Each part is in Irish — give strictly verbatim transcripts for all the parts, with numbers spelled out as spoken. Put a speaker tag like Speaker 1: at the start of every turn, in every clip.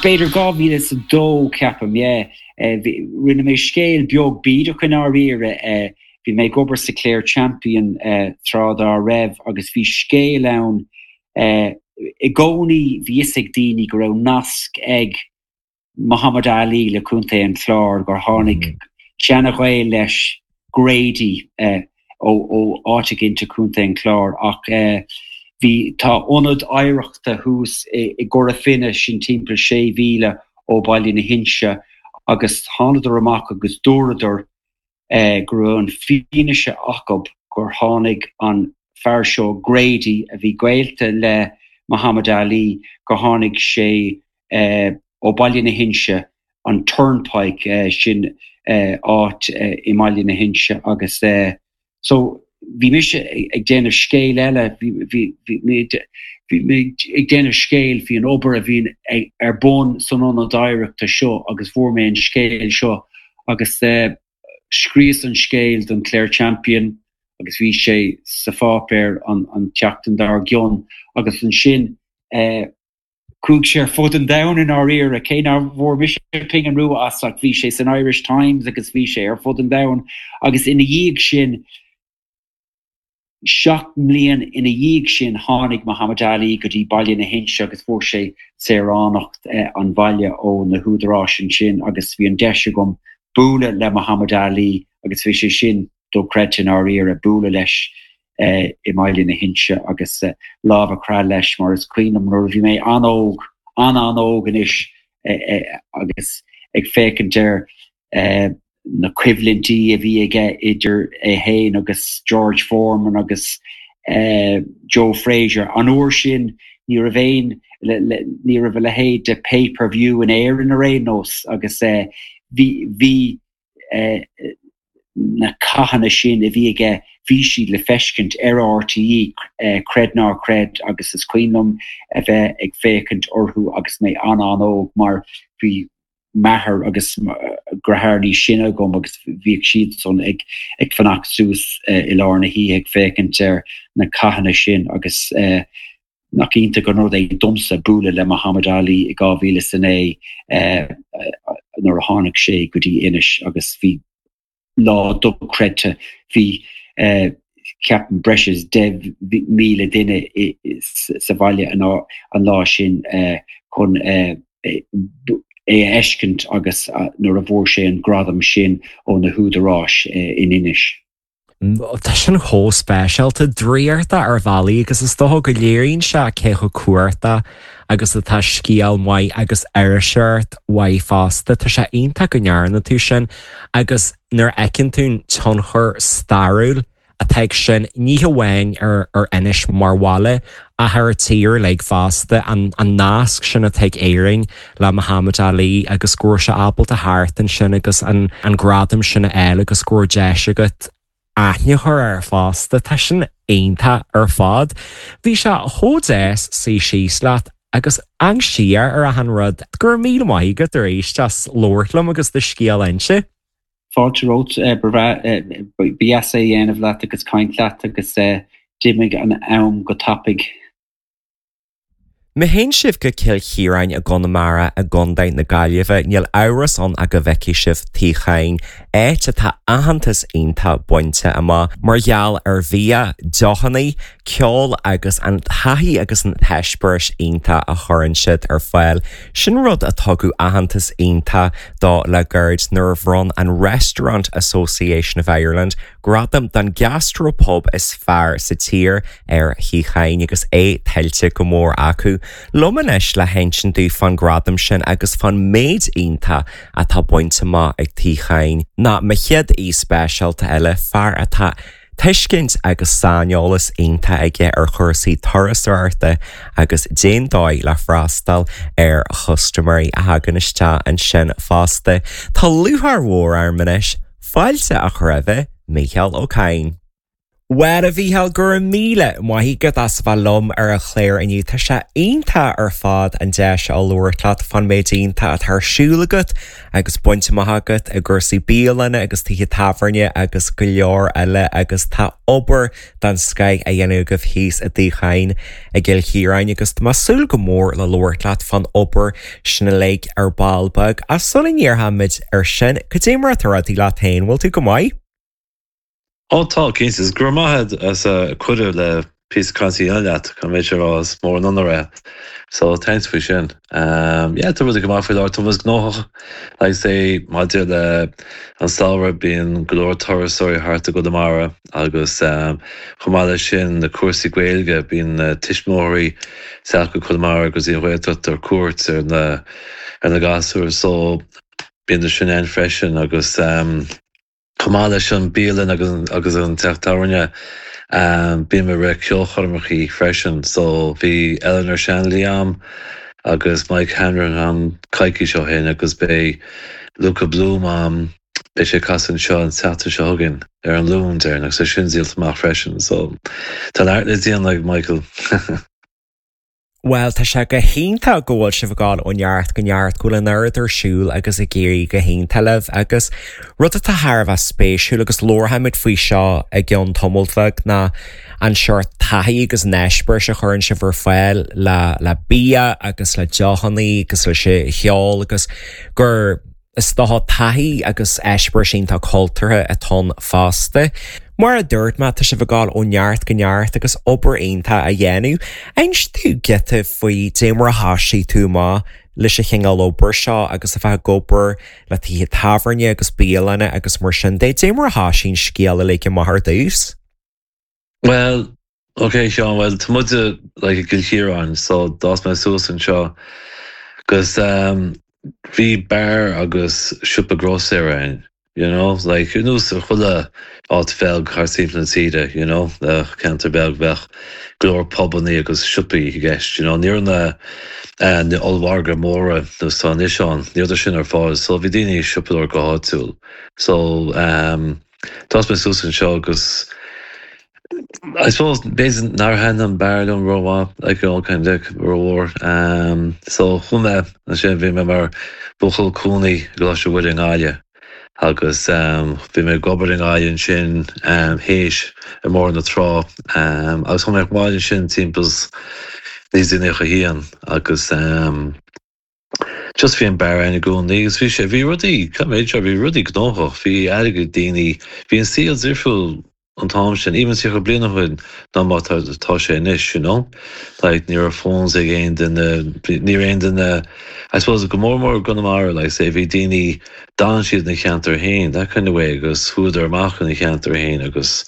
Speaker 1: B'fhéidir dhá mhíle is a dó ceapaim, yeah. Rinne mé scéal beag bídeach i ndáiríre. Bhí mé ag obair sa Clare Champion tráth dá raibh agus bhí scéal ann i gcónaí bhí fhios ag daoine go raibh nasc ag Muhammad Ali le Contae an Chláir, gur tháinig seana-ghaol leis, Grady, ó áit éigin i gContae an Chláir ach bhí, tá ionad oidhreachta thuas i gCora Finne, sin timpeall sé mhíle ó Baile na hInse agus thánadar amach agus dúradar go raibh an fianaise acu gur tháinig an fear seo Grady a bhí gaolta le Muhammad Ali, gur tháinig sé ó Baile na hInse, an Turnpike, sin áit i mBaile na hInse agus so bhí mise ag déanamh scéal eile, bhí mé ag déanamh scéil faoi an obair a bhíonn ar bun san ionad oidhreachta seo agus fuair mé an scéal seo agus scríos an scéal don Clare Champion agus bhí sé sa pháipéar an an tseachtain dár gcionn agus ansin chuaigh sé ar fud an domhain i ndáiríre, cé nár bhfuair mise pingin rua as ach bhí sé san Irish Times agus bhí sé ar fud an domhain agus ina dhiaidh sin, seacht mbliain ina dhiaidh sin tháinig Muhammad Ali go dtí Baile na hInse agus fuair sé saoránacht an bhaile ó na húdaráis ansin agus bhí an deis agam bualadh le Muhammad Ali agus bhí sé sin dochreidte i ndáiríre, bualadh leis i mBaile na hInse agus lámh a chroitheadh leis mar is cuimhin liom nuair a bhí mé an-óg, an-an-óg anois agus ag féachaint ar na coimhlintí a bhí aige idir é féin agus George Foreman agus Joe Frazier. An uair sin ní raibh aon, ní raibh a leithéid de pay per view in Éirinn ar aon nós agus bhí, bhí na cathanna sin a bhí aige, bhí siad le feiscint ar RTÉ, creid ná creid, agus is cuimhin liom a bheith ag féachaint orthu agus mé an-an-óg mar bhí m'athair agus deartháir níos sine agam agus bhíodh siadsan ag ag fanacht suas i lár na hoíche ag féachaint ar na cathanna sin agus nach iontach an rud é domsa bualadh le Muhammad Ali i dhá mhíle is a naoi nuair a tháinig sé go dtí Inis agus bhí lá dochreidte. Bhí, ceapaim, breis is deich míle duine sa bhaile an lá sin chun é a fheiscint agus nuair a bhfuair sé an gradam sin ó na húdaráis in Inis.
Speaker 2: Tá sin chomh speisialta, draíochta ar bhealaí agus is dócha go léiríonn sé cé chomh cumhachtach agus atá scéal maith agus iriseoireacht mhaith fosta. Tá sé iontach go ndearna tú sin agus nuair a fheiceann tú an tionchar stairiúil atá ag sin, ní hamháin ar ar Inis mar bhaile ach ar an tír uilig fosta, an an nasc sin atá ag Éirinn le Muhammad Ali agus go raibh sé ábalta theacht ansin agus an an gradam sin a fháil agus go raibh deis agat aithne a chur air fosta. Tá sin iontach ar fad. Bhí sé chomh deas suí síos leat agus amharc siar ar achan rud. Go raibh míle maith agat arís as labhairt liom agus do scéal a inse.
Speaker 1: Fáilte romhat, ba bhreá, ba dheas é a dhéanamh leat agus caint leat agus d'imigh an am go tapaidh.
Speaker 2: Má théann sibh go Cill Chiaráin i gConamara i gContae na Gaillimhe, níl amhras ann ach go bhfeicfidh sibh Tigh Chadhain, áit atá aitheantas iontach bainte amach mar gheall ar bhia, deochanna, ceol agus an taithí agus an t-eispéireas iontach a chuireann siad ar fáil. Sin rud a tugadh aitheantas iontach dó le gairid nuair a bhronn an Restaurant Association of Ireland gradam don gastropub is fearr sa tír ar Thigh Chadhain agus é tuillte go mór acu. Liom anois le hinsint dúinn fán gradam sin agus fán méid iontach atá bainte amach ag Tigh Chadhain ná mo chéad aoi speisialta eile, fear atá tuiscint agus saineolas iontach aige ar chúrsaí turasóireachta agus cén dóigh le freastal ar chustaiméirí a thagann isteach ansin fosta. Tá lúcháir mhór orm anois fáilte a chur roimh Mícheál Ó Cadhain. Well a Mhícheáil go raibh míle maith agat as bheith liom ar an chlár inniu tá sé iontach ar fad an deis a labhairt leat fán méid iontach atá ar siúl agat agus bainte amach agat i gcúrsaí bialanna agus tithe tábhairne agus go leor eile agus tá obair den scoth á dhéanamh agaibh thíos i dTigh Chadhain i gCill Chiaráin agus tá mé ag súil go mór le labhairt leat fán obair sin uilig ar ball beag ach sula ndéarfaimid ar sin cad é mar atá rudaí leat féin bhfuil tú go maith?
Speaker 3: Ó tá cinnte go raibh maith as a cuireadh le píosa cainte a dhéanamh leat chun méid rá is mór an onóir é. So thanks faoi sin. Um, yeah, tá rudaí go maith faoi láthair tá gnóthach like say maidir le an samhradh bíonn go leor turasóirí thart i gConamara agus um, chomh maith leis sin na cúrsaí Gaeilge bíonn uh, tuismitheoirí teacht go Conamara agus í Ghaeltacht ar cuairt ar na ar na gasúir so bíonn sin ann freisin agus um, Chomh maith leis an bialann agus agus an teach tábhairne um, bím ag rith ceolchoirmeacha freisin, so bhí Eleanor Shanley agam agus Mike Hanrahan agam coicís ó shin agus beidh Luca Bloom agam beidh sé ag casadh anseo an tseachtain seo chugainn ar an Luan deireanach agus sin díolta amach freisin, so tá neart le déanamh ag Michael.
Speaker 2: Well tá sé go hiontach go bhfuil sibh ag dul ó neart go neart go bhfuil an oiread ar siúl agus ag éirí go hiontach libh agus rud atá thar a bheith spéisiúil agus labharfaimid faoi seo i gceann tamall beag ná an seort taithí agus an eispéireas a chuireann sibh ar fáil le le bia agus le deochanna agus leis an cheol agus gur is dócha taithí agus eispéireas iontach cultúrtha atá ann fosta. Mar a dúirt mé tá sibh ag dul ó neart go neart agus obair iontach á dhéanamh. Inis dom giota faoi dé mar a thosaigh tú amach leis an chineál obair seo agus a bheith ag obair le tithe tábhairne agus bialanna agus mar sin de dé mar a thosaigh an scéal uilig amach ar dtús.
Speaker 3: Well, okay Seán, well tá muide like i gCill Chiaráin, so d'fhás mé suas anseo agus um, bhí beár agus siopa grósaera ann, you know, like ar nós ar chuile áit bheag thart timpeall na tíre, you know, uh, ceantar beag bheadh go leor pubanna agus siopaí i gceist, you know, ní raibh na uh, na ollmhargaí móra nós atá anois ann, ní raibh sin ar fáil, so bhí daoine ag siopadóireacht go háitiúil. So um, d'fhás mé suas anseo agus I suppose b'fhéidir nár thaitin an beár liom rómhaith like you know, kind of rómhór. Um, so chuaigh mé ansin bhí mé mar buachaill cónaí i gColáiste Mhuire i nGaillimh agus um, bhí mé ag obair i nGaillimh ansin um, théis i mBóthar na Trá um, agus chuaigh mé abhaile ansin timpeall naoi déag nócha haon agus um, just bhí an beár ann i gcónaí agus bhí sé bhí rudaí méid bhí rudaí gnóthach, bhí airgead daoine, bhí an saol difriúil an t-am sin even tríocha bliain ó shin ná mar tá sé anois you know like ní raibh phones ag aon duine ní raibh aon duine I suppose go mór mór Conamara like say bhí daoine d'fhan siad na ceantar féin that kind of way agus chuadar amach ina cheantar féin agus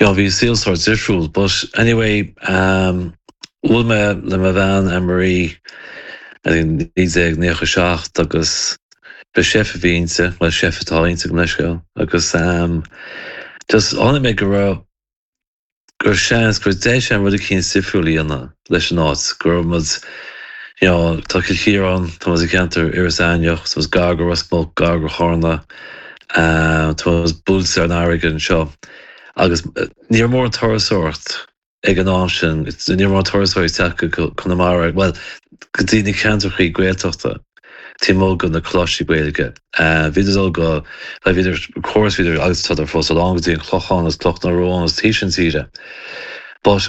Speaker 3: you know, bhí saol sort difriúil but anyway um, bhuail mé le mo bhean Anne-Marie naoi déag nócha seacht agus ba chef a bhí inti well chef atá inti go leisce agus um, just chonaic mé go raibh gur seans gur deis an rud éicint difriúil a dhéanamh leis an áit go raibh muid you know, tá Cill Chiaráin tá i ceantar Iorras Aithneach tá gar go Ros Muc gar go Carna um, tá buailte ar an fharraige anseo agus ní raibh mórán turasóireacht ag an am sin ní raibh mórán turasóirí teacht go Conamara well go dtí na ceantracha Gaeltachta taobh amuigh de na coláistí Gaeilge. Uh, bhí dul go le bhí córas bhí agus tá fós lán go dtí an Clochán agus Cloch na Rón agus taobh sin tíre. But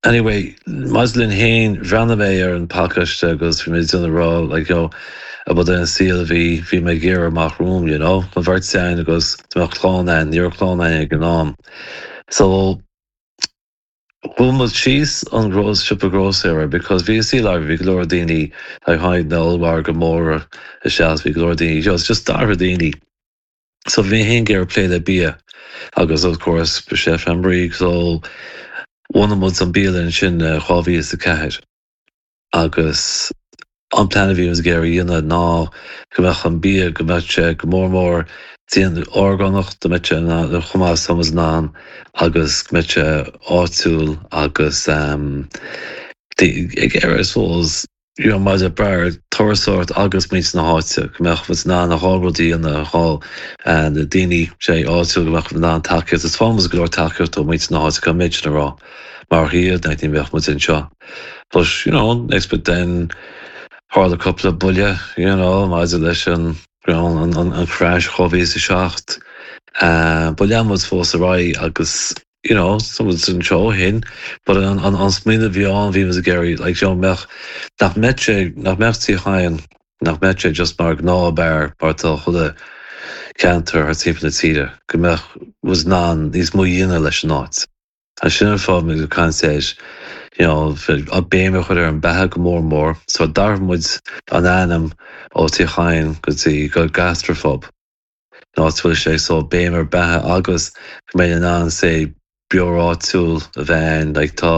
Speaker 3: anyway, maidir linn féin bhreathnaigh mé ar an pacáiste agus bhí mé déanamh rá like, you know, about an saol bhí bhí mé ag iarraidh amach romham, you know, an bheirt againn agus tá clann ann ní raibh clann ann ag an am. So Bhuail muid síos an gros siopa grósaera because bhí sí le bhí go leor daoine le tháinig na ollmhargaí móra isteach bhí go leor daoine just just d'athraigh daoine. So bhí mé ag iarraidh plé le bia agus of course ba chef Anne-Marie so bhunaigh muid an bialann sin dhá mhíle is a ceathair agus an plean a bhí ag iarraidh a dhéanamh ná go mbeadh an bia go mbeadh sé go mór mór déanta orgánach go mbeadh sé chomh maith is an an agus go mbeadh sé áitiúil agus um, ag iarraidh I suppose you know, maidir le turasóireacht agus muintir na háite, go mbeadh muid in ann a dhá rud a dhéanamh dhá na daoine sé áitiúil go mbeadh in ann tacaíocht is fámas go leor tacaíocht ó muintir na háite go méid sin a rá mar hiad na ní bheadh muid anseo. But you know, next but then tharla cúpla buille, you know, maidir leis an you know, an, an, an crash dhá mhíle is a seacht. Uh, but lean muid fós ar aghaidh agus you know, someone's anseo hin, but an an an smaoineamh bhí ann bhí muid ag iarraidh like you know, mbeadh nach mbeadh sé nach mbeadh Tigh Chadhain nach mbeadh sé just mar gnáthbheár mar tá chuile ceantar thar timpeall na tíre, go mbeadh muid in ann níos mó a dhéanamh leis an áit. An sin an fáth muid ag caint air, you know, a béim a chur ar an beatha go mór mór, so d'athraigh muid an ainm ó Tigh Chadhain go dtí go gastropub. Ná bhfuil sé so béim ar beatha agus go mbeidh in ann sé beoir áitiúil a bheith like tá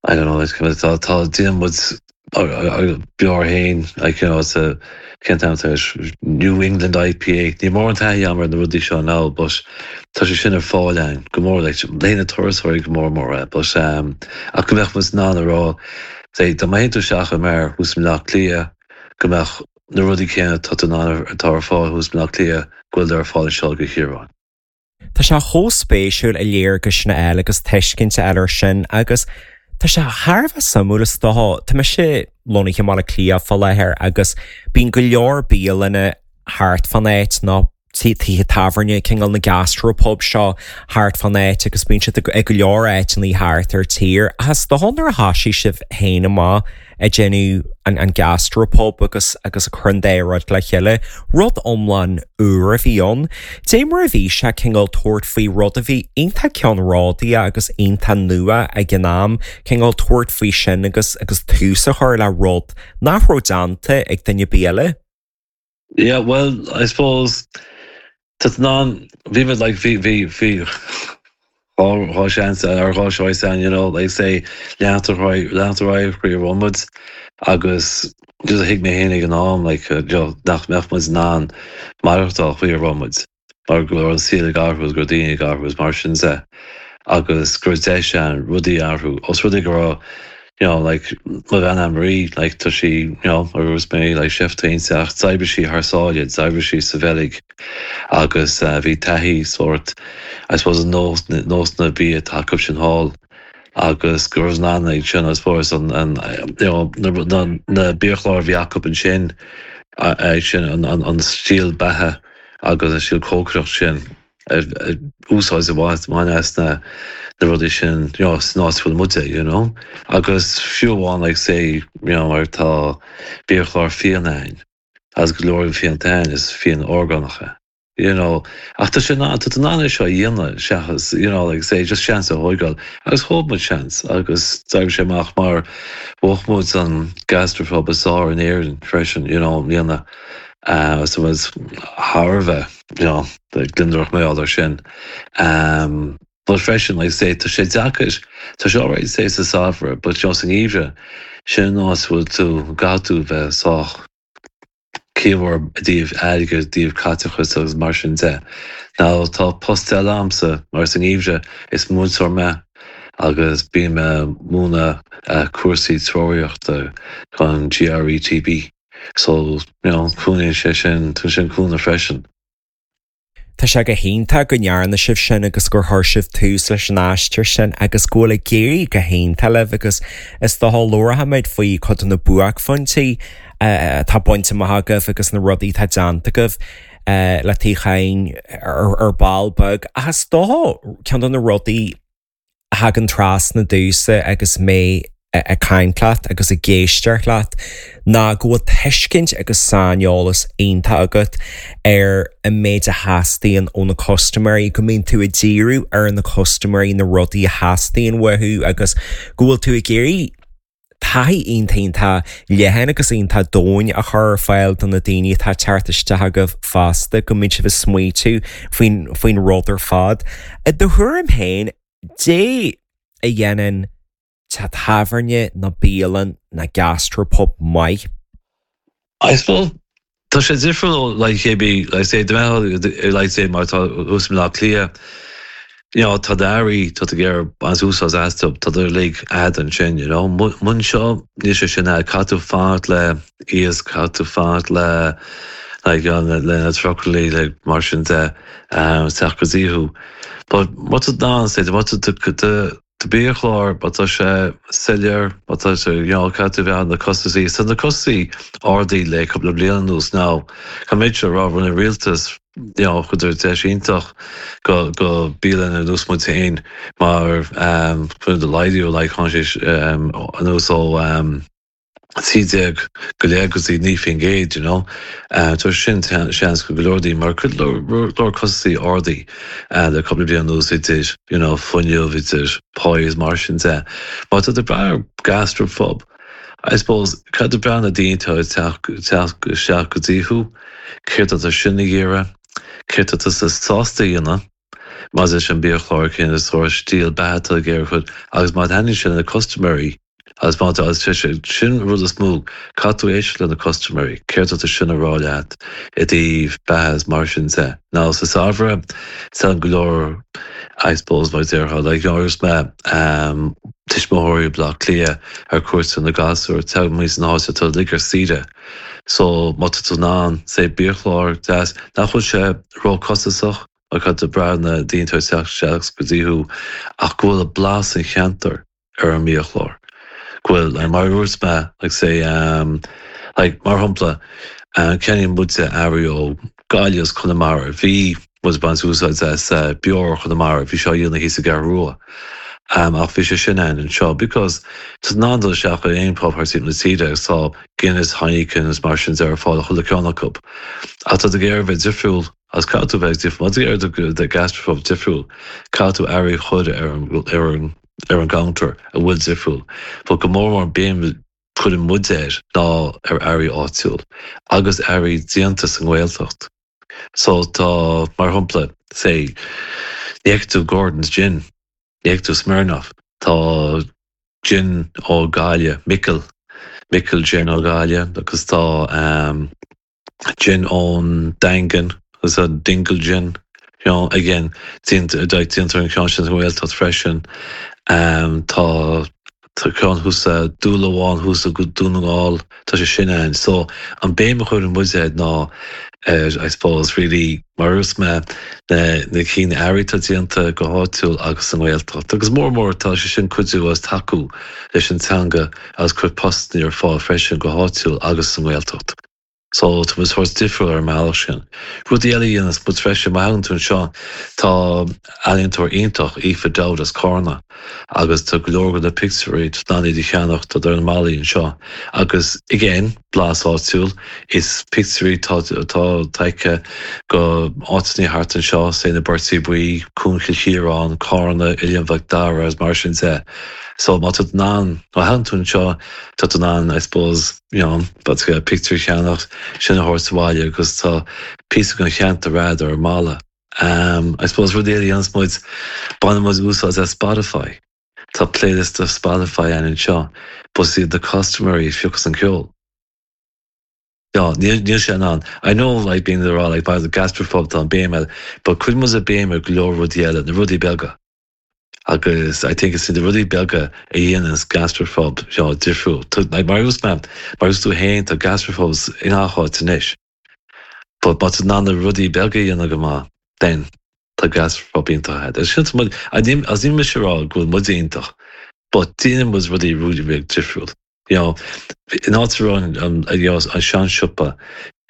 Speaker 3: I don't know like tá tá déanann muid beoir féin like you know it's a cén t-ainm atá New England IPA ní mór an taithí agam ar na rudaí seo ná but tá sé sin ar fáil ann go mór like le na turasóirí go mór mór é but um, ach go mbeadh muid in ann a rá say dá mbeidh tú isteach i mbeár thuas i mBleá Cliath go mbeadh na rudaí céanna tá in ann atá ar fáil thuas i mBleá Cliath go bhfuil ar fáil anseo go Chiaráin.
Speaker 2: Tá sé chomh spéisiúil a léargas sin a fháil agus tuiscint a fháil air sin agus tá sé thar a bheith suimiúil is dócha Tá mise lonnaithe i mBaile Átha Cliath fá láthair agus bíonn go leor bialanna thart fan áit ná tithe tábhairne cineál na gastropub seo thart fan áit agus bíonn siad ag go leor áiteanna thart ar tír. Is dócha nuair a thosaigh sibh féin amach ag déanamh an, an gastropub agus agus a chur an dá rud le chéile, rud iomlán úr a bhí ann. Dé mar a bhí sé cineál tabhairt faoi rud a bhí iontach ceannródaíoch agus iontach nua ag an am, cineál tabhairt faoi sin agus agus tús a chur le rud nach raibh déanta ag duine ar bith eile.
Speaker 3: Yeah, well, I suppose tá ná bhí muid like bhí bhí bhí dhá seans ar dhá choice an you know like say leantar leantar chuí romid agus just thuig mé féin ag an am like uh, nach mbeadh muid in ann maireachtáil chuí romid mar go raibh an saol ag athrú gur daoine ag athrú mar sin de agus gur deis an rudaí athrú os rudaí go raibh you know like mo bhean Anne-Marie like tá sí you know agus mé like chef ach d'oibrigh sí thar sáile d'oibrigh sí sa Bheilg agus uh, bhí taithí sort I suppose nós nós na bia atá acu sin thall agus go raibh an ag sin I suppose an an you know na na na biachlár bhí acu ansin sin an an an stíl beatha agus an stíl cócaireacht sin úsáid a bhaint main as na na rudaí sin you know, san áit bhfuil muide you know agus fiú amháin like say you know mar tá biachlár fíon ann as go leor fíonta is fíon orgánacha you know ach tá sin tá an an seo dhéanamh seachas you know like say just seans a thógáil agus thóg muid seans agus d'éirigh sé amach mar bhuaigh muid an gastropub is fearr in Éirinn freisin you know bliana uh, so was thar a bheith you know gliondar mé sin um, but freisin like say tá sé deacair tá sé alright say sa samhradh but you know, san gheimhreadh sin ná bhfuil tú ga tú bheith sách ciamhar díobh aige díobh caiteachas agus mar sin de. Now tá post eile agamsa mar san gheimhreadh is múinteoir mé agus bím ag múineadh uh, cúrsaí treoraíochta chun GRETB. So you know, cúnaíonn sé sin tú sin cúnamh freisin.
Speaker 2: Tá sé go hiontach go ndearna sibh sin agus gur chuir sibh tús leis an aistear sin agus go bhfuil ag éirí go hiontach libh agus is dócha labharfaimid faoi chuid de na buaicphointí atá bainte amach agaibh agus na rudaí atá déanta agaibh le Tigh Chadhain ar, ar ball beag ach is dócha ceann de na rudaí a thagann trasna domsa agus mé ag caint leat agus ag éisteacht leat ná go bhfuil tuiscint agus saineolas iontach agat ar an méid a theastaíonn ó na custaiméirí, go mbíonn tú ag díriú ar na custaiméirí na rudaí a theastaíonn uathu agus go bhfuil tú ag iarraidh taithí iontach leathan agus iontach domhain a chur ar fáil do na daoine atá ag teacht isteach agaibh fosta go mbíonn sibh ag smaoitiú faoin faoin rud ar fad. I do thuairim féin dé a dhéanann teach tábhairne nó bialann nó gastropub maith.
Speaker 3: I suppose tá sé difriúil like cébí like say like say mar tá thuas i mBleá Cliath you know, tá earraí tá ag iarraidh baint úsáid astu tá uilig agat ansin, you know. Anseo níl sé sin caithfidh tú fanacht le iasc caithfidh tú fanacht le like, le le na trucailí le mar sin de um, teacht go dtí thú. But má tá ná sé má tá do biachlár má tá sé soiléir má tá sé you know, caithfidh tú bheith na costaisí Tá na costaisí ardaithe le cúpla bliain anuas now Tá méid se rá na rialtas you know, chuir deis iontach go go bialanna ar nós muid féin mar um, chun de laghdú le sé um, anuas ó um, trí déag go leith go dtí naoi faoin gcéad, you know. Uh, Tá sin seans go leordaí mar chuid leor costaisí ardaithe uh, le cúpla bliain anuas idir you know, fuinneamh idir pá is mar sin de. Má tá tú ag brath gastropub. I suppose caithfidh tú brath na daoine teacht isteach go dtí thú, céard atá sin ag iarraidh, céard atá siad sásta a dhéanamh, má is an biachlár cén sórt stíl beatha ag iarraidh agus má thaitníonn sin na custaiméirí agus má tá sin rud is mó caithfidh tú éisteacht le na custaiméirí, céard atá sin a rá leat i dtaobh beatha mar sin de. Now sa samhradh san go leor I suppose mar déarfá like you know, me um, tuismitheoirí Bleá Cliath ar cuairt na gasúir te mu san háte tá ligur saoire. So má tá tú in ann sé biachlár deas nach bhfuil sé róchostasach a caithfidh tú brath na daoine teacht go dtí thú ach go bhfuil a blas an cheantar ar an mbiachlár. Go bhfuil like, mar dúirt mé like say um, like, mar shampla uh, ceannaíonn muide earraí ó Gaillimh is Conamara bhí muid baint úsáid as uh, beoir Chonamara bhí seo dhéanamh thíos i gCeathrú Rua. Um, ach bhí sé sin an anseo because tá ná seach aon pub thar na tíre tá Guinness Heineken is mar sin ar fáil chuile ceann acu. Ach tá ag iarraidh bheith difriúil as caithfidh tú bheith difriúil ag iarraidh de gastropub difriúil caithfidh tú earraí a chur ar an ar an ar an gcounter a bhfuil difriúil. But go mór mór béim cuireann muid air ná ar earraí áitiúil agus earraí déanta sa nGaeltacht. So tá mar shampla sé ní fheicfidh tú Gordon's gin, ní fheicfidh tú Smirnoff, tá gin ó Gaillimh, Micil, Micil gin ó Gaillimh agus tá um, gin ón Daingean agus a Dingle gin. You know, again déantar an ceann sin Gaeltacht freisin. Um, tá tá ceann thuas dúlamháin thuas go Dún na nGall tá sé sin ann. So an béim a chuireann muid ná uh, I suppose really mar is mé na na cinn earraí atá déanta go háitiúil agus an Ghaeltacht. Agus mór mór tá sé sin cuidiú as tacú leis an teanga agus cur postanna ar fáil freisin go háitiúil agus an Ghaeltacht. So tá mus sórt difriúil ar an mbealach sin. Rud eile dhéanas but freisin má thagann tú anseo tá ealaíontóir iontach Aoife Dowd as Carna agus tá go leor de na pictiúirí tá iad a cheannach tá ar na ballaí anseo. Agus again blas áitiúil is pictiúirí tá tá tógtha go áiteanna thart anseo sé na Beirtí Buí, Cuan Chill Chiaráin, Carna, Oileán Mhic Dara as mar sin de. So má tá ná má thagann tú anseo tá tú in ann I suppose you know, but pictiúr a cheannach sin a thabhairt abhaile agus tá píosa den cheantar agat ar an mballa. Um, I suppose rud eile dhéanas muid baineann muid úsáid as Spotify. Tá playlist of Spotify an anseo, but iad na custaiméirí a phiocas an ceol. Ja, níl níl sé an. I know like being there like by the gastropub tá béim but cuireann muid a béim ar go leor rudaí eile na rudaí beaga. Agus I think is na rudaí beaga a dhéananns gastropub seo difriúil. Like, mar us man, mar us tú féin tá gastropubs in áit anois. But má tá na rudaí beaga dhéanamh go maith, then tá gastropub iontach agat. Sin as ní mis rá go bhfuil muid iontach, but déanann muid rudaí rudaí beag difriúil. You know, in áit an an an seansiopa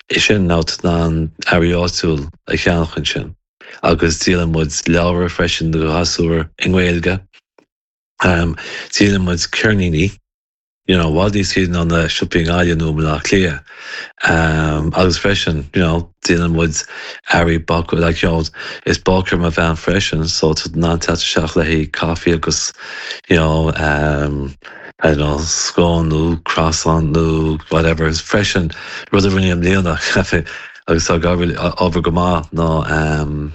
Speaker 3: is sin ná ná earraí áitiúil a cheannach ansin. Agus díolann muid leabhar freisin do ghasúir i nGaeilge. Um, díolann muid ceirníní, you know, bhfuil siad an na siopaí Gaillimh nó Bleá Cliath. Um, agus freisin, you know, díolann muid earraí bácála like, you know, is bácóir mo bhean freisin, so tá ná teach le caife agus you know, um, I don't know, scone nó croissant nó whatever is freisin rud a rinne i mbliana agus tá obair go maith ná um,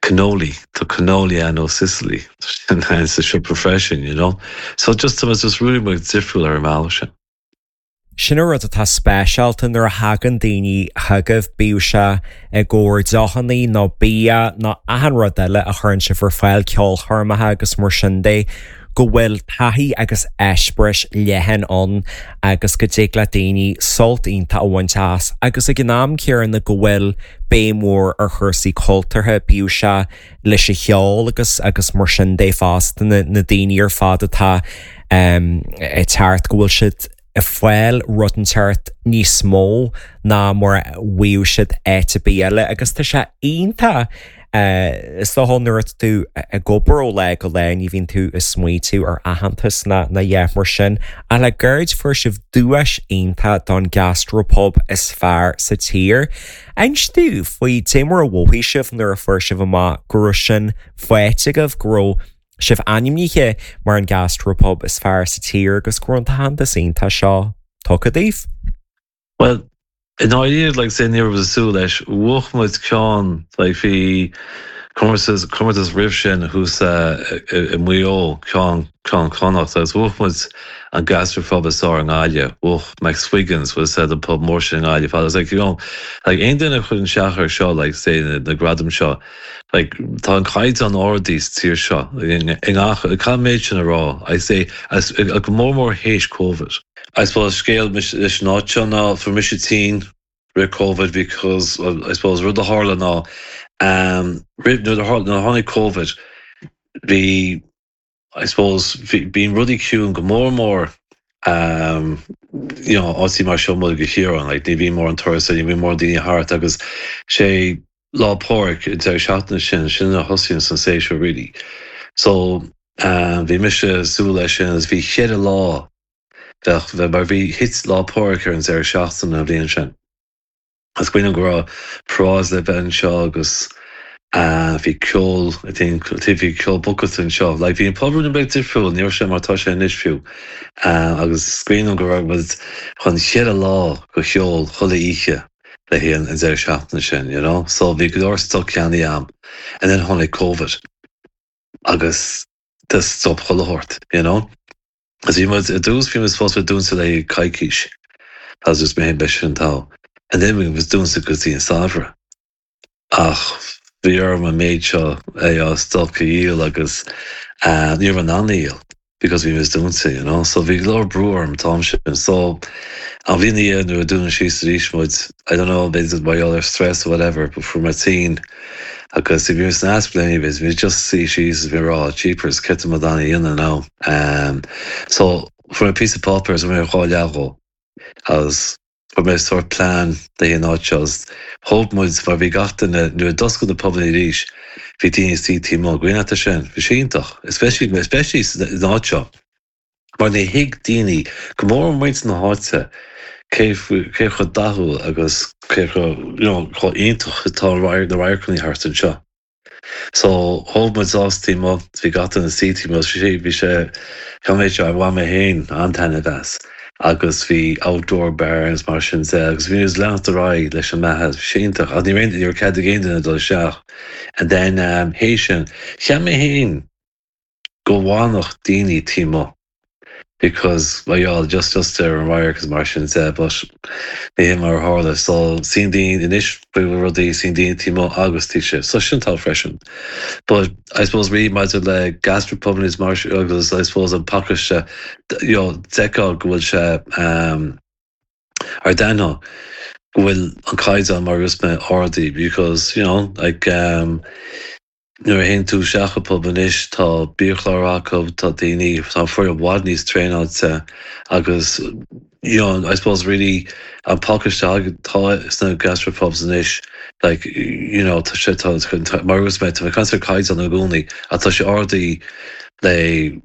Speaker 3: cannoli tá cannoli an ó Sicily sa siopa freisin, you know. So just was just really much difriúil ar an mbealach sin.
Speaker 2: Sin an rud atá speisialta nuair a thagann daoine chugaibh bíodh sé i gcomhair deochanna nó bia nó achan rud eile a chuireann sibh ar fáil ceolchoirmeacha agus mar sin de go bhfuil taithí agus eispéireas leathan ann agus go dtig le daoine sult iontach a bhaint as agus ag an am céanna go bhfuil béim mhór ar chúrsaí cultúrtha bíodh sé leis an cheol agus agus mar sin de fosta na, na daoine ar fad atá um, ag teacht go bhfuil siad ag fáil rud inteacht níos mó ná mar a bhíodh siad áit ar bith eile agus tá sé iontach Uh, is dócha nuair atá tú ag obair ó lá go lá ní bhíonn tú ag smaointiú ar aitheantas na na dheich mar sin a le gairid fuair sibh duais iontach don gastropub is fearr sa tír. Inis dom faoi cé mar a mhothaigh sibh nuair a fuair sibh amach go raibh sin faighte agaibh go raibh sibh ainmnithe mar an gastropub is fearr sa tír agus go raibh an t-aitheantas iontach seo tugtha daoibh.
Speaker 3: Well, i ndáiríre like say ní raibh súil leis bhuaigh muid ceann like bhí comórtas comórtas roimh sin thuas i Maigh Eo ceann ceann Connacht agus bhuaigh muid an gastropub is fearr i nGaillimh bhuaigh McSwiggan's was said an pub mór sin i nGaillimh agus like you know like aon duine chun seach ar seo like say na, na gradaim seo like tá an caighdeán ard sa tír seo i ngach cá méid sin a rá I say as go mór mór théis COVID. I suppose scéal leis an áit seo ná fuair mise tinn roimh COVID because I suppose rud a tharla ná um, roimh nuair a tháinig COVID bhí I suppose bíonn rudaí ciúin go mór mór um, you know, áit mar seo i gCill Chiaráin, like, ní bhíonn mórán turasóirí, ní bhíonn mórán daoine thart agus sé Lá Pádraig an deireadh seachtaine sin sin a thosaíonn san séasúr really. So um, bhí mise súil leis sin agus bhí cheithre lá bheith bheith mar bhí thit Lá Pádraig ar an deireadh seachtaine an bhliain sin. Is cuimhin go raibh paráid le bheith anseo agus uh, bhí ceol bhí ceol booked anseo, like bhí an pub an beag difriúil ní sé mar tá sé anois fiú uh, agus is cuimhin go raibh muid chun cheithre lá go cheol chuile oíche le haghaidh an deireadh seachtaine sin, you know? So bhí go leor stoc ceannaithe agam and then tháinig COVID agus stop chuile shórt, you know? As bhí muid i dtús bhí muid fós dúnta le coicís as just mé be sin tá. And then bhí muid dúnta go dtí an samhradh. Ach bhí orm an méid seo é stoc a dhíol agus uh, ní raibh an dhíol because bhí muid dúnta, you know? So bhí go leor brú orm an t-am sin. So an bhliain nuair a dúnadh síos arís muid I don't know b'fhéidir mar gheall ar stress or whatever, but fuair mé tinn agus bhí san asplé bhí just suí síos bhí rá jeepers cad tá mé a dhéanamh now. Um, so fuair mé píosa páipéir is mé dhá leathó agus fuair mé sort plean de an áit seo thóg muid mar bhí gach duine nuair a d'oscail na pubanna arís bhí daoine suí taobh amuigh gcuimhneach sin bhí sé iontach especially especially san áit seo mar ní thuig daoine go mór muintir na háite cé cé chomh dathúil agus cé chomh you know, chomh iontach atá na radharcanna thart anseo. So thóg muid suas taobh amuigh bhí gach duine suí taobh amuigh sé bhí sé méid seo bhain mé féin an-taitneamh as agus bhí outdoor bars mar sin de agus bhí leanúint ar aghaidh leis an mbeatha bhí sé iontach a ní raon ar cead ag aon duine dul isteach and then um, théis sin cheap mé féin go bhfanfadh daoine taobh amuigh because well yeah, just just ar an radharc mar sin de but ní hé mar a tharla so suíonn daoine anois faoi rudaí suíonn daoine taobh amuigh agus tí sé so sin tá freisin but I suppose rí maidir le gastropub mar agus I suppose an pacáiste you know, d'fheicfeá go bhfuil sé um, ar dena go bhfuil an caighdeán mar is mé ardaithe because you know like um, nuair a théann tú isteach i pub anois tá biachlár acu tá daoine tá foireann i bhfad níos traenáilte agus you know, I suppose really an pacáiste tá sna gastropubs anois like you know tá sé tá mar is mé tá cancer caighdeán i gcónaí a tá sé ardaithe le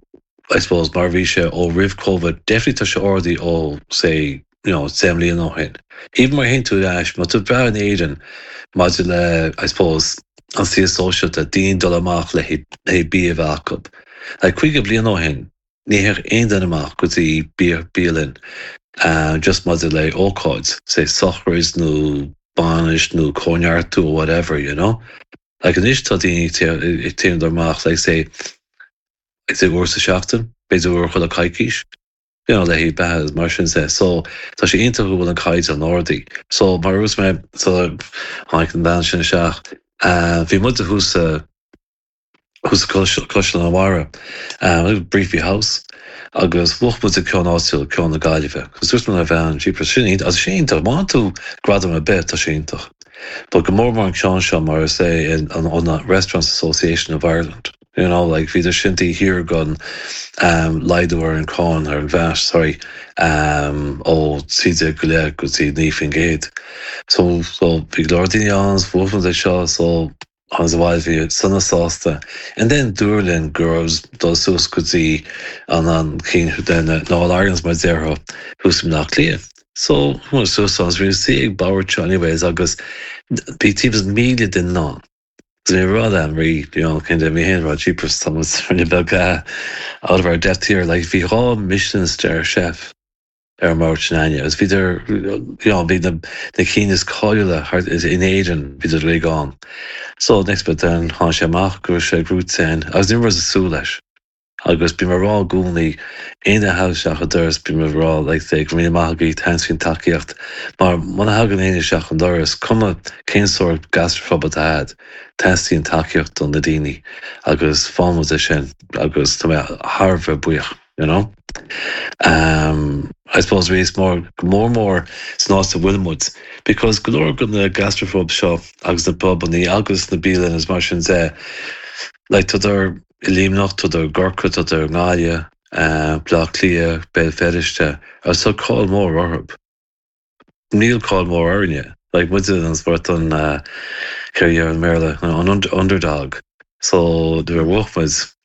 Speaker 3: I suppose mar bhí sé ó roimh COVID definitely tá sé ardaithe ó say you know deich mbliana ó shin. Even mar théann tú leis má tú breá in Éirinn maidir le I suppose an saol sóisialta daoine dul amach le le bia a bheith acu. Le caoga bliain ó shin ní théadh aon duine amach go dtí bialann uh, just maidir le ócáid, sé sochraid nó bainis nó cóineartú or whatever, you know? Like anois tá daoine ag téann amach like say like say uair sa seachtain, b'fhéidir uair chuile coicís. you know, le beatha mar sin de. So tá sé iontach go bhfuil an caighdeán ardaithe. So mar a dúirt mé so tháinig an bhean sin isteach. Uh, bhí muid thuas thuas Caisleán Bharraigh um, Breaffy House agus bhuaigh muid ceann áitiúil ceann na Gaillimhe. Cos dúirt mé bhean jeepers sin as sé iontach má tú gradam ar bith tá sé iontach. But go mór mór an ceann seo mar is é an an Restaurants Association of Ireland. You know, like bhí sintaí thiar gan um, laghdú ar an cáin ar an VAT sorry um, ó trí déag go leith go dtí naoi faoin gcéad. So so bhí go leor daoine ann bhuaigh é seo so an bhil bhí sona sásta. And then dúradh linn go dul suas go dtí an an cinn den ná Ireland's mar déarfá thuas nach Cliath. So suas an bhí sí ag bord anyways agus bhí timpeall míle duine ann. Bhí rud an rí kind of mé héin rud jeepers rinne beag out of our depth here like bhí dhá Michelin star chef ar an mbord sin agus bhí bhí na na cinn is cáiliúla in Éirinn bhí ré gan. So next bit then tháinig sé amach go sé grútain agus ní raibh súil leis. Agus bím ag rá i gcónaí aon a isteach an doras bím ag rá like go míle maith agaibh thanks faoin tacaíocht mar muna thagann éinne isteach an doras cuma cén sórt gastropub atá teastaíonn tacaíocht do na daoine agus fámuid é sin agus tá mé thar bheith buíoch you know? Um, I suppose is mór mór mór san áit a bhfuil muid, because go leor go na gastropub seo agus na pubanna agus na bialanna is mar sin de like tá i Luimneach tá i gCorcaigh tá i nGaillimh, uh, Bleá Cliath, Béal Feirste, agus tá cáil mór orthu. Níl cáil mór orainne, like muid an sport an uh, an Béarla an underdog. So de bhuaigh muid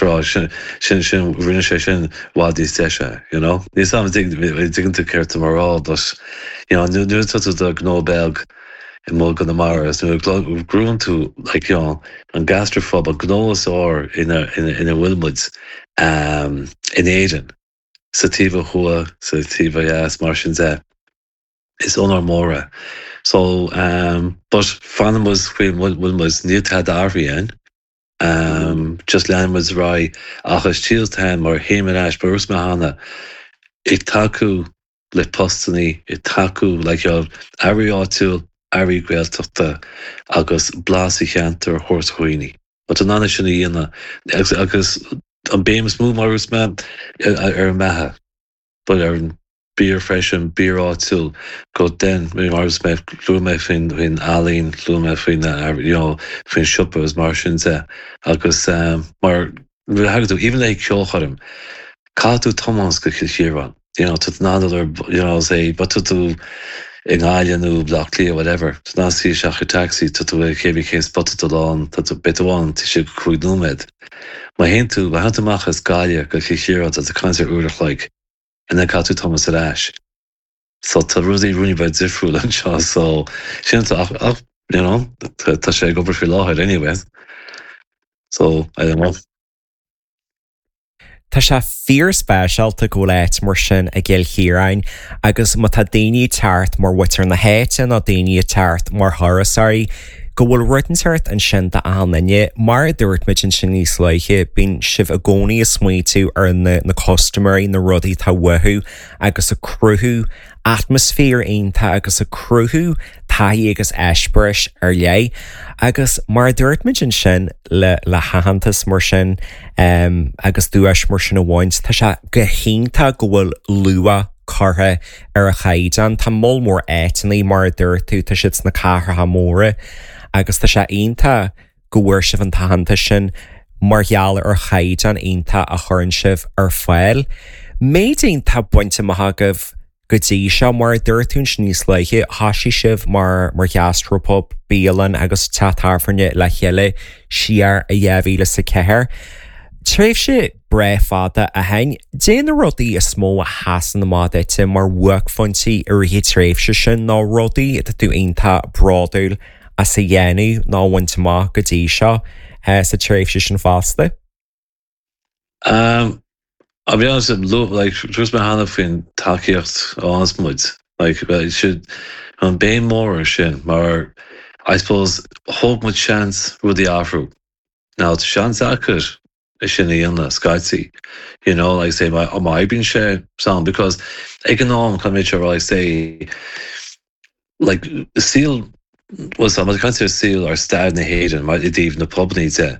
Speaker 3: rá sin sin sin rinne sé sin bhfad níos deise, you know? Ní sam digann tú ceart mar rá but you know, nu tá tú do gnó beag i mBaile Chonamara nu grún tú like, you know, an gastropub an gnó is fearr ina ina ina bhfuil muid um, in Éirinn sa taobh thuaidh sa taobh dheas mar sin de is onóir mór é. So um, but fanann muid faoi bhfuil muid níl tada athraithe um, just lean muid ra ach is tíaltain mar héim éis brús me hana ag tacú le postanna ag tacú le earraí áitiúil earraí Gaeltachta agus blas an cheantair a thabhairt do dhaoine. But an anna sin a dhéanamh agus agus an béim is mó mar is mé ar an mbeatha, but ar an bia freisin bia áitiúil go den mar is mé luaigh mé faoin faoin ealaín luaigh mé faoin you know, faoin siopa is mar sin de agus um, mar tú even le ceolchoirm caithfidh tú tiomáint go Cill Chiaráin. You know, tú ná you know, say, but tú i nGaillimh nó Bleá Cliath whatever. Ná sí seach taxi tá tú cébí cén spota do lán tá tú bit amháin tí sé cúig nóiméad. Má théann tú má théann tú amach as Gaillimh go Cill Chiaráin tá caint ar uair a chloig and then caithfidh tú tiomáint ar ais. So tá rudaí rudaí beag difriúil anseo so sin ach ach you know, tá sé ag obair faoi láthair anyway. So I don't know.
Speaker 2: Tá sé fíorspeisialta go bhfuil áit mar sin i gCill Chiaráin agus má tá daoine teacht mar mhuintir na háite nó daoine teacht mar thurasóirí, go bhfuil rud inteacht ansin d'achan duine, mar a dúirt muid ansin níos luaithe, bíonn sibh i gcónaí ag smaointiú ar na, na custaiméirí na rudaí atá uathu agus ag cruthú atmaisféar iontach agus ag cruthú taithí agus eispéiris ar leith. Agus mar a dúirt muid ansin le le haitheantas mar sin um, agus duais mar sin a bhaint, tá sé go hiontach go bhfuil luach curtha ar an chaighdeán Tá moll mór áiteanna mar a dúirt tú tá siad sna cathracha móra agus tá sé iontach go bhfuair sibh an t-aitheantas sin mar gheall ar chaighdeán iontach a chuireann sibh ar fáil. Méid iontach bainte amach agaibh go dtí seo mar dúirt tú níos luaithe thosaigh sibh mar mar ghastropub bialann agus teach tábhairne le chéile siar i dhá mhíle is a ceathair. Tréimhse breá fada a hain, Cad é na rudaí is mó a sheasann amach duit mar bhuaicphointí i rith na tréimhse sin ná rudaí atá tú iontach bródúil as a dhéanamh ná bhaint amach go dtí seo eh, sa tréimhse sin fosta.
Speaker 3: Um, I'll be honest, like dúirt mé cheana faoin tacaíocht a muid like should an béim mór sin mar I suppose thóg muid seans rudaí athrú. Now seans acu é sin a dhéanamh scaití. You know, like say má má oibríonn sé sam because ag an am caithfidh mé like say like saol was am caint ar saol ar staid na hÉireann mar i dtaobh na pubannaí de.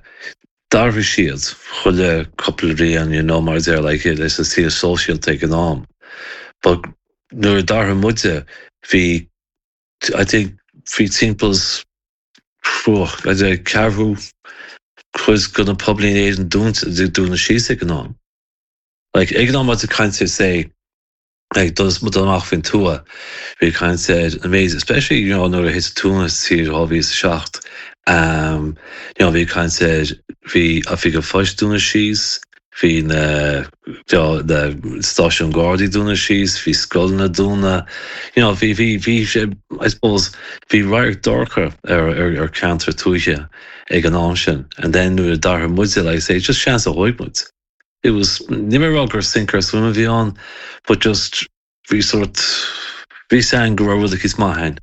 Speaker 3: D'athraigh siad chuile cúpla bliain you know, mar deir like leis an saol sóisialta ag an am. But nuair a d'athraigh muide bhí I think bhí timpeall ceathrú cuid de na pubannaí in Éirinn dúnta dúnta síos ag an am. Like ag an am ag caint say like dul dul amach faoin tuath bhí caint ar an méid especially you know nuair a thit tuama tír dhá mhíle is a seacht um, you know, bhí caint ar bhí oifig an phoist dúnta síos, bhí na na stáisiún Gardaí dúnta síos, bhí scoileanna dúnta, you know, bhí bhí bhí sé I suppose bhí radharc dorcha ar ar ar ceantar tuaithe ag an am sin and then nuair a d'athraigh muide like say just seans a thóg muid. It was ní mé rá gur sink or swim a bhí ann, but just bhí sort bhí san go raibh rud eicínt maith ann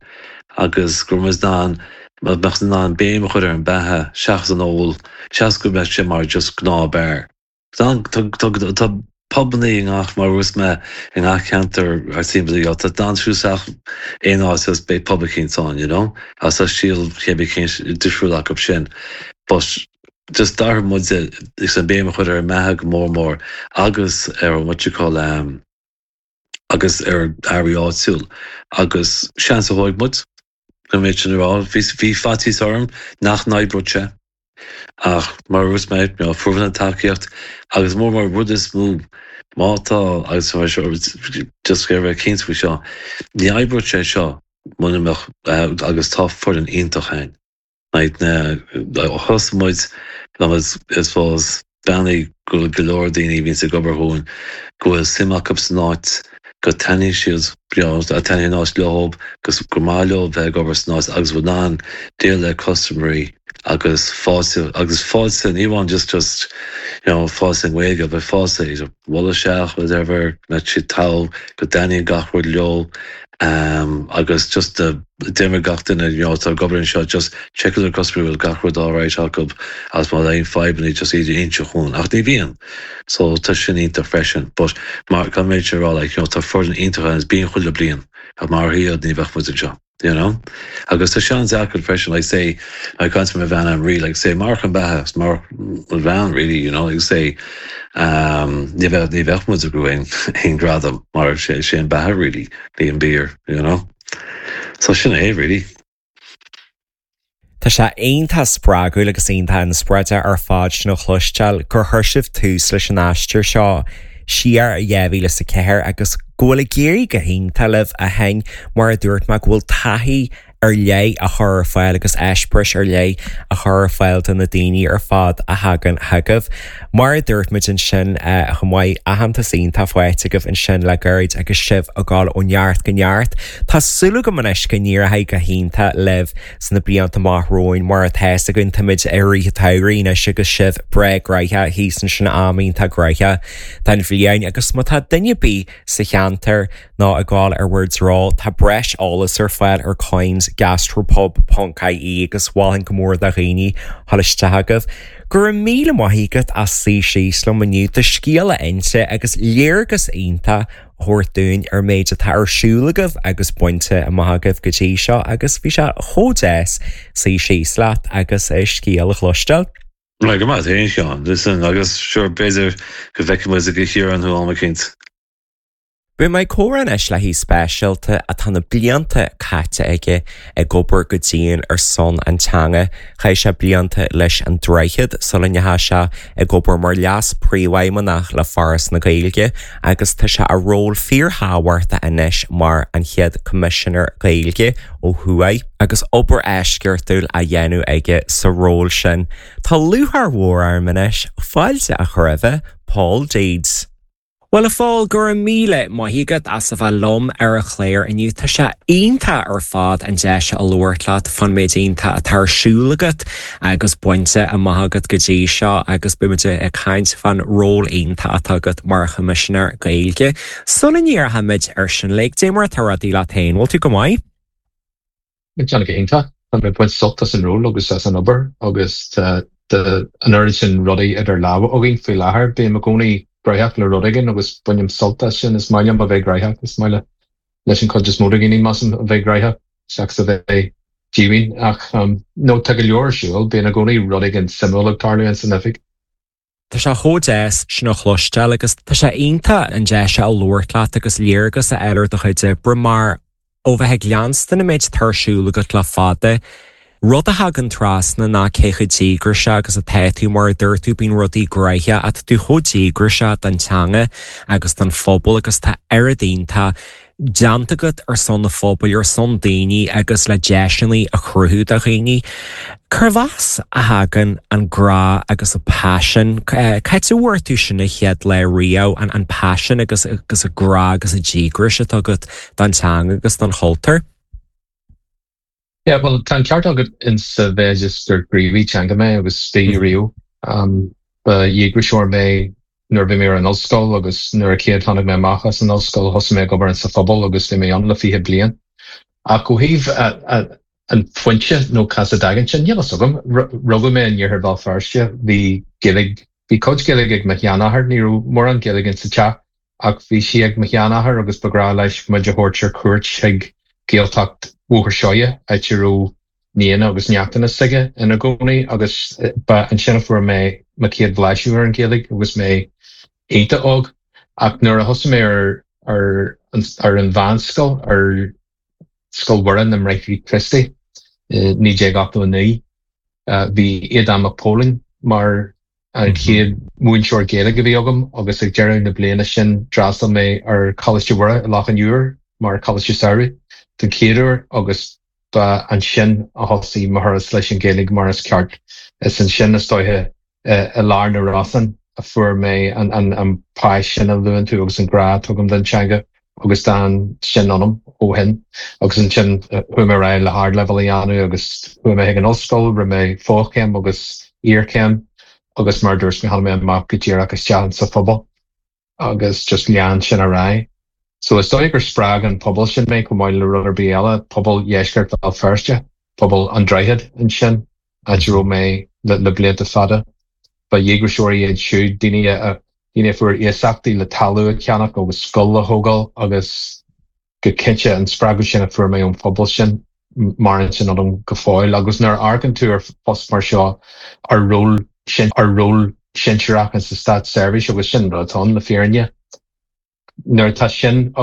Speaker 3: agus go raibh muid in ann mbeadh in ann béim a chur ar an beatha seachas an ól seachas go mbeadh sé mar just gnáth beár. Tá pubannaí i ngach mar rus me i ngach ceantar ar timpeall tá dan siúsach aon áit agus beidh pub eicínt ann, you know? Agus tá stíl chéad cén difriúil acu sin. But just d'athraigh muide is an béim a chur ar an mbeatha go mór mór agus ar an what you call um, agus ar earraí áitiúil agus seans a thóg muid go méid sin rá bhí bhí faitíos orm nach n-oibreodh sé ach mar rus mé you know, fuair an tacaíocht agus mór mar rud is mó má tá agus just go bheith cinnte faoi seo ní oibreodh sé seo muna mbeadh agus tá foireann iontach ann. Like na thosaigh muid I suppose beannaí go go leor daoine a bhíonns ag obair dhúinn go bhfuil suim acu san áit go dtaitníonn siad taitníonn an áit leo agus gur maith leo bheith ag obair san áit agus bhfuil in ann déileáil le custaiméirí agus fáilte agus fáilte ní amháin just just you know fáilte i nGaeilge but fáilte iad bualadh isteach whatever mbeadh siad togha go dtaitníonn gach rud leo um, agus just uh, déarfaidh gach duine you know, tá ag obair anseo just check their customer bhfuil gach rud alright acu agus má aon fadhbanna just iad a inse chugainn ach ní bhíonn so tá sin iontach freisin but mar gan méid sé rá like, you know, tá foireann iontach agus bíonn chuile bliain ach mar hiad ní bheadh muid anseo. You know? Agus tá sean deacair freisin like say like caint mo bhean an rí like say mar an beatha mar bhean really you know like say um, ní bheadh ní bheadh muid ag aon aon gradam mar sé sé an beatha really ní an beer you know so sin é really.
Speaker 2: Tá sé iontach spreagúil agus iontach inspioráideach ar fad sin a chloisteáil gur chuir sibh tús leis an aistear seo siar i dhá mhíle is a ceathair agus go bhfuil ag éirí go hiontach libh ó shin mar a dúirt mé go bhfuil taithí ar leith a chur ar fáil agus eispéireas ar leith a chur ar fáil do na daoine ar fad a thagann chugaibh. Mar a dúirt muid ansin chomh maith aitheantas iontach faighte agaibh ansin le gairid agus sibh ag dul ó neart go neart. Tá súil agam anois go n-éireoidh go hiontach libh sna blianta amach romhainn mar atá a fhios againn táimid i rith an tsamhraidh anois agus sibh breá gnoitheach thíos ansin am iontach gnoitheach den bhliain agus má tá duine ar bith sa cheantar nó ag gabháil ar bhur dtreo tá breis eolas ar fáil ar coins gastropub.ie agus mholfainn go mór do dhaoine dul isteach chugaibh. Go raibh míle maith agat as suí síos liom inniu do scéal a inse agus léargas iontach a thabhairt dúinn ar méid atá ar siúl agaibh agus bainte amach agaibh go dtí seo agus bhí sé chomh deas suí síos leat agus é scéal a chloisteáil.
Speaker 3: Right, go maith féin Seán, listen agus sure b'fhéidir go bhfeicfidh muid i gCiarraí thú am eicínt.
Speaker 2: Beidh mé ag comhrá anois le haoi speisialta atá na blianta caite aige ag obair go dian ar son an teanga. Chaith sé blianta leis an Droichead sula ndeachaigh sé ag obair mar leas príomhfheidhmeannach le Foras na Gaeilge agus tá sé i ról fíorthábhachtach anois mar an chéad Coimisinéir Gaeilge ó thuaidh agus obair eisceachtúil á dhéanamh aige sa ról sin. Tá lúcháir mhór orm anois fáilte a chur roimh Paul Deeds. Well a Phóil go raibh míle maith agat as a bheith liom ar an chlár inniu Tá sé iontach ar fad an deis a labhairt leat faoin méid iontach atá ar siúl agat agus bainte amach agat go dtí seo agus beimid ag caint faoin ról iontach atá agat mar Choimisinéir Gaeilge. Sula ndíreoimid ar sin le dé mar atá rudaí leat féin, bhfuil tú go maith?
Speaker 4: Déanamh go hiontach Tá mé ag baint sult as an ról agus as an obair agus tá An oiread sin rudaí idir lámha againn faoi láthair, bím i gcónaí gnóthach le rud éigin agus bainim sult as sin is maith liom a bheith gnóthach is maith leis an chuid is mó de dhaoine measaim a bheith gnóthach seachas a bheith díomhaoin ach um, nó tá go leor ar siúl bíonn i gcónaí rud éigin suimiúil ag tarlú san oifig.
Speaker 2: Tá sé chomh deas sin a chloisteáil agus tá sé iontach an deis a labhairt leat agus léargas a fháil ar do chuid oibre mar ó bheith ag leanstan an méid atá ar siúl agat le fada. Rud a thagann trasna ná cé chomh díograiseach agus atá tú mar a dúirt tú bíonn rudaí gnóthach ach tú chomh díograiseach don teanga agus don phobal agus tá oiread iontach déanta agat ar son na phobail ar son daoine agus le deiseanna a chruthú do dhaoine. Cérbh as a thagann an grá agus an paisean Cá bhfuair tú sin an chéad lá riamh an an paisean agus agus an grá agus an díograis atá agat don teanga agus don chultúr?
Speaker 4: Yeah, well tá ceart agat in sa mhéid is gur gníomhaí teanga mé agus bhí riamh. Um, ba dhíograiseoir mé nuair bhí mé ar an ollscoil agus nuair a chéad tháinig mé amach as an ollscoil thosaigh mé ag obair sa phobal agus bhí mé ann le fiche bliain. Ach ó thaobh an phointe nó cá as a dtagann sin níl a fhios agam rugadh mé in iarthar Bhéal Feirste bhí Gaeilge bhí cuid Gaeilge ag mo sheanathair ní raibh mórán Gaeilge sa teach ach bhí sí ag mo sheanathair agus ba ghnách leis muid a thabhairt ar cuairt chuig Gaeltacht Bhóthar Seoighe áit a raibh nianna agus neachtanna s'aige ina gcónaí agus ba ansin a fuair mé mo chéad bhlaiseadh ar an Ghaeilge agus mé iontach óg ach nuair a thosaigh mé ar ar ar an mheánscoil ar Scoil Mhuire na mBráithre Críostaí naoi déag ochtó a naoi bhí Aodán Mac Póilin mar an chéad mhúinteoir Gaeilge a bhí agam agus ag deireadh na bliana sin d'fhreastail mé ar Choláiste Mhuire i Loch an Iúir mar Choláiste Samhraidh den chéad uair agus ba ansin a thosaigh mo thuras leis an Ghaeilge mar is ceart. Is ansin is dóiche i lár na Rosann a fuair mé an, an, an paisean a luann tú agus an grá atá agam don teanga agus d'fhan sin ionam ó shin agus ansin chuaigh mé ar aghaidh le hardleibhéal a dhéanamh agus chuaigh mé chuig an ollscoil, rinne mé fochéim agus iarchéim agus mar dúirt mé tháinig mé amach go díreach isteach sa phobal agus just lean sin ar aghaidh. So is dóigh gur spreag an pobal sin mé chomh maith le rud ar bith eile, pobal Dheisceart Bhéal Feirste, pobal an Droichead ansin, áit a raibh mé le, le blianta fada. Ba dhíograiseoirí iad siúd daoine a daoine a fuair iasachtaí le talamh a cheannach agus scoil a thógáil agus go cinnte an spreagadh sin a fuair mé ón phobal sin maireann sin ionam go fóill agus nuair a amharcann tú ar phost mar seo ar ról sin ar ról sinsearach sa státseirbhís agus sin rud atá ann le fírinne. Nuair atá sin